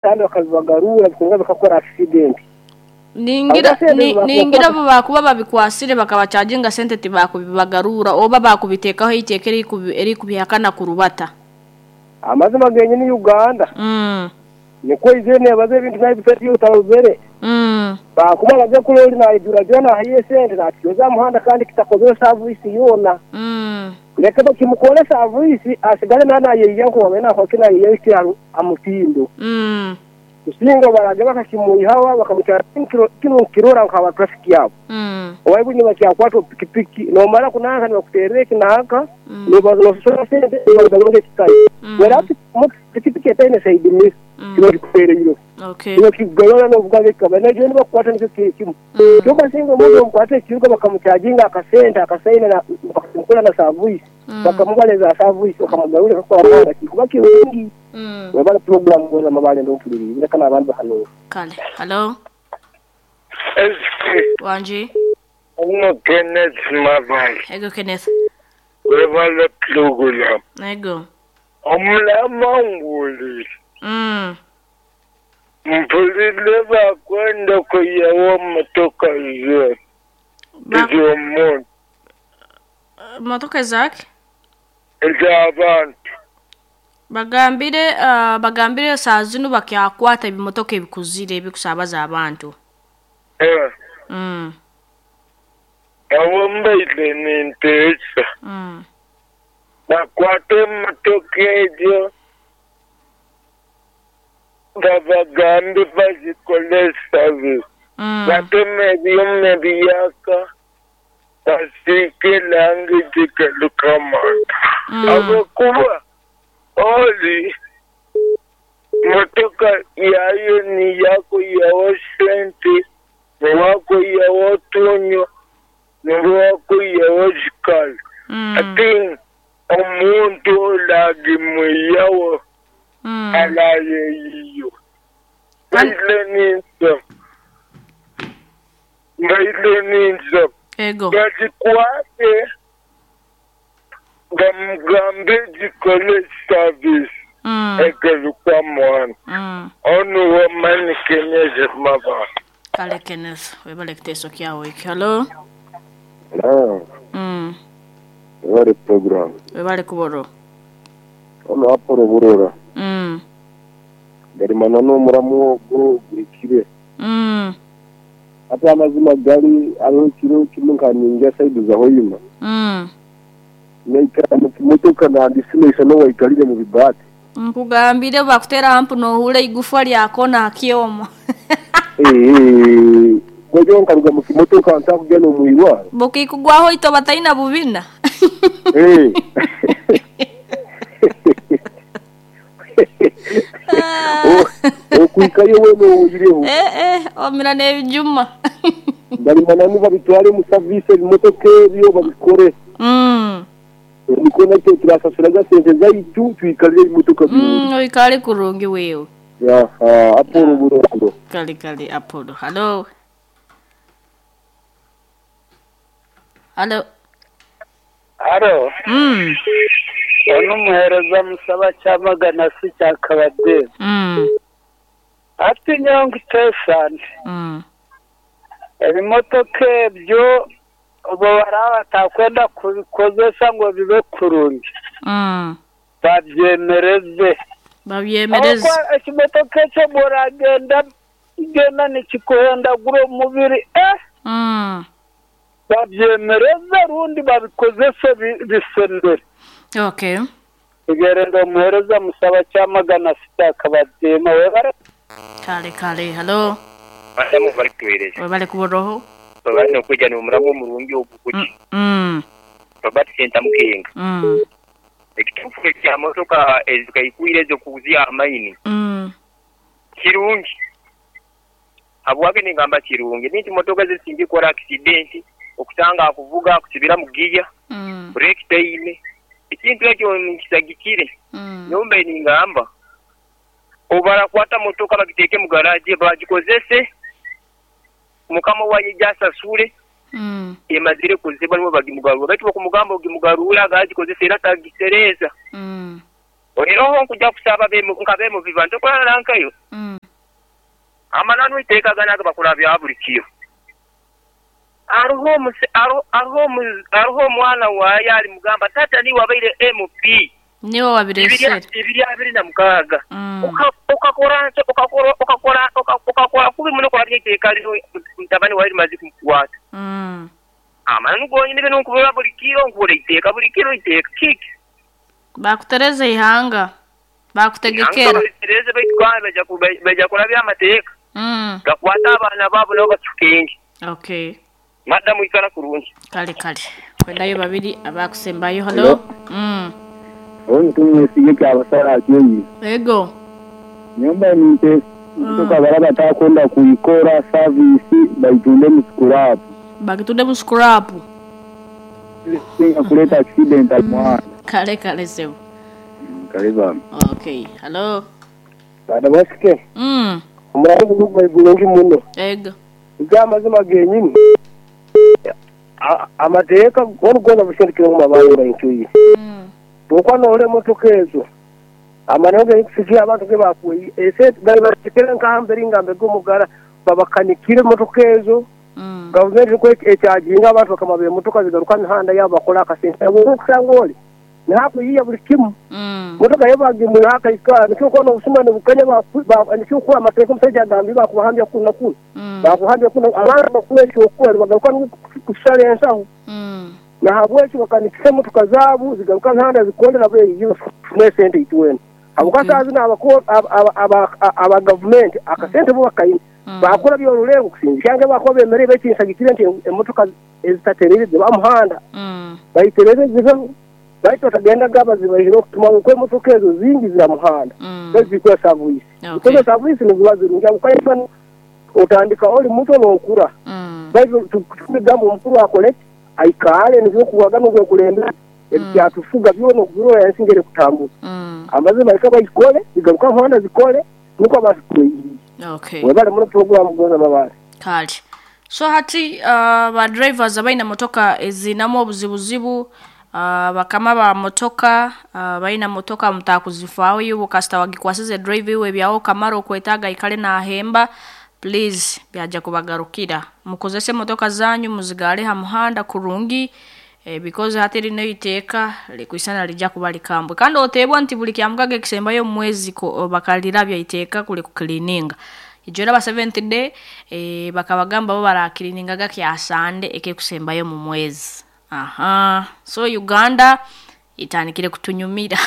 Kandi bakabibagarura bikongera bikakora accident. Ningira Habwa sente ningira bakubakwata. obu bakuba babikwasire bakabacaginga sente tibakubibagarura oba bakubiteekaho eiteeka erikubihakana kurubata. Amazima genyini Uganda nikwo eizire neebaza ebintu nabifetiyo otarozere. Bakuba baze kuroori naijurajura nahayo esente nakyoza aha muhanda kandi kitakozire service yoona. Leka bakimukore service asigale naaba nayeyiya nkowabaire nakora ki nayeyiya ekiri aha mutindo. Kusinga obu baraaze bakakimwihaho bakamutwara kinu nkirora nk'aba traffic abo. Owaibu nibakyakwata pikipiki nomara kunanka nibakuteerera eki nanka noosasura sente nibakugaruza ekikayo. Whereas pikipiki etaine side mirror kiba kikuteereire. Nibakikugarura novuga nk'ekikaba naija nibakukwata nikyo kiro kimwe. Kyonka singa omuntu bamukwata ekiruka bakamucaginga akasente akasaine bakamukora na service bakamubara eza service bakamugarura akakora muhanda kikuba kirungi. Webale puroguramu goza amabaale ndompuliriize leka n'abandi bahanuura. Kale. Halo. Wangi. Ono Kenneth Mabale. Ego Kenneth. Webale pulogulaamu. Ego. Omulama nguwulire. Mpulire bakwenda kwihaho motoka ze ez'omuntu. Motoka ezaki? Ez'abantu. Bagambire bagambire saa zinu bakyakwata ebimotoka ebikuzire ebikusaabaza abantu. Aho mbaire ninteesa. Bakwate emotoka ejo babagambe bazikole service. Bateme ebyuma ebiyaka basiige elangi dhigaluka mangu. Ahabw'okuba oli motoka yayo ni yakwihaho sente, niwakwihaho otunyo, niwakwihaho shukari. Ate omuntu olagimwihaho alayeyiyo. Mbaire ninza. Ego. Bagikwate bamugambe gikole service egaruka mwana. Onu wamani Kenneth Mabale. Kale Kenneth, webale kiteeso kyawe ekyo. Halo. Webale puroguramu. Webale kuboro. Ono Apollo Burora. Garimana n'omuramu ogwo gurikire. Ate amazima gari hariho ekiro kimwe nka ninja saidi za Hoima. Naikara mu kimotoka nandisimaisa n'owaikarire mu bibaati. Nkugambire bakuteera hampu nohurra eigufa lyakona aha kyoma. Kwegyo nkaruga mu kimotoka ntakugenda omu irwaro. Bukikugwaho itoba taina bubina. Okwikayo weena oyireho. Omira n'ebijuma. Ngarimana nibabitware mu service ebimotoka ebyo babikore. Nikwo naitwe turasasuraga sente zaitu twikarire ebimotoka birungi. Oikare kurungi wewe. Aha, Apollo Burora. Kale kale Apollo. Halo. Halo. Halo. Ono omuheereza musaba Kyamagana si Kyakabadde. Ati nyowe nkuteesa nti ebimotoka ebyo obu baraba batakwenda kubikozesa ngu bibe kurungi. Babyemereze. Babyemereze. Ahabw'okuba ekimotoka ekyo bw'oragenda genda nikikuhendagura omubiri. Babyemereze rundi babikozese bisendere. Okay. Tugerenda omuheereza musaba Kyamagana si Kyakabadde. Webale. Kale kale. Halo. Badamu bali kutuweereza. Webale kuboroho. Babali n'okwija n'omuramu omurungi ogwo guti. Robert Sentamu Kenga. Ekituufu ekya motoka ezikaikwire ez'okuzia amaini. Kirungi. Habwaki ningamba kirungi? Ninti motoka ezisinga kukora accident, okusanga akuvuga akusibira mu giya, brake taine. Ekintu ekyo nkisagikire. Nyombe ningamba obarakwata motoka bagiteeke mu garage bagikozese mukama waije asasule emazire kuziba nibo bagimugarura. Baitu bakumugamba ogimugarura agagikozesa era tagisereeza. Oiroho nkuja kusaba nka bemubiba ntokulala nkayo. Amananu iteeka gano agabakola bya buli kiro. Hariho omwana waye alimugamba tata niwe wabaire MP. Niwe wabiresere. 2026. Ukakora kubi muno kurabya iteeka lino mutabani wawe limaze kumukwata. Amananu gonyini bino nkubura buli kiro nkubura iteeka buli kiro iteeka kiki. Bakutereza ihanga. Bakutegekera. Bakutereza baitu kandi baija kurabya amateeka. Gakwata abaana baabo nabo bacukenge. Okay. Madamu ikara kurungi. Kale kale. Kwendayo babiri abakusembayo. Hello. Oyo tumwesige kyabasala akyenyi. Ego. Nyumba ninte kutoka baraba takwenda kuikora service baitunde mu scrap. Bakitunde mu scrap. Singa kuleta accident mwana. Kale kale sebo. Karibu. Okay. Hello. Bada basike. Umurango gubulungi muno. Ego. Ibyamazima genyini. Amateeka gono bushindikira mu mabango baintuye. Bukwa nole motoka ezo. Amanoge yikusikia abantu ke bakuye. Ese bali batikira nkambere ngambe gomugara babakanikire motoka ezo. Government ko ekyajinga abantu bakamabe motoka zigaruka mihanda yabo bakola akasente. Okusanga oli. Nahapo yiya buli kimu. Motoka yabagimura akaikara nikyo kono obusuma bukanya ba nikyo kuwa amateeka omusajja agambye bakuhambya kuna kuna. Bakuhambya kuna abantu bakula ekyokukola bagaruka kusala ensaho. Na habweki bakanikisa motoka zaabo zigaruka mihanda zikolera beyiyo sente itwena. Abukasa zina aba government akasente bo bakayina. Bakora by'orulengo kusinga cyange bakora bemere bekinsagikire nti emotoka ezitaterere bamuhanda. Bayiterere zive baitu batagenda gaba zibahiro okutuma uko emotoka ezo zingi zira muhanda. Zikora service. Zikora service niziba zirungi ukayifana otandika oli muto n'okura. Baitu tugambo omukuru akole aikale nivyo kuwaga n'ogwe kulembera ebyatufuga byona okubirora ensingere kutambuka. Amazima ikaba ikole zigaruka muhanda zikole nuko abantu kuyiye. Okay. Webale muno program goza babale. Kale. So hati ba drivers abaina motoka ezinamo obuzibuzibu bakama ba motoka baina motoka mtakuzifaawo yubo kasita wagikwasize drive iwe byawo kamaro okwetaga ikale na hemba please byaja kubagarukira. Mukozese motoka zanyu muzigale ha muhanda kurungi because hati rino iteeka likuisana lija kuba likambwe. Kandi otebwa nti buli kyamukage kisembayo mwezi bakalirabya iteeka kuli kuklininga. Ijora ba 7th day bakabagamba bo barakilininga gakya Sunday eke kusembayo mu mwezi. Aha. So Uganda itanikire kutunyumira.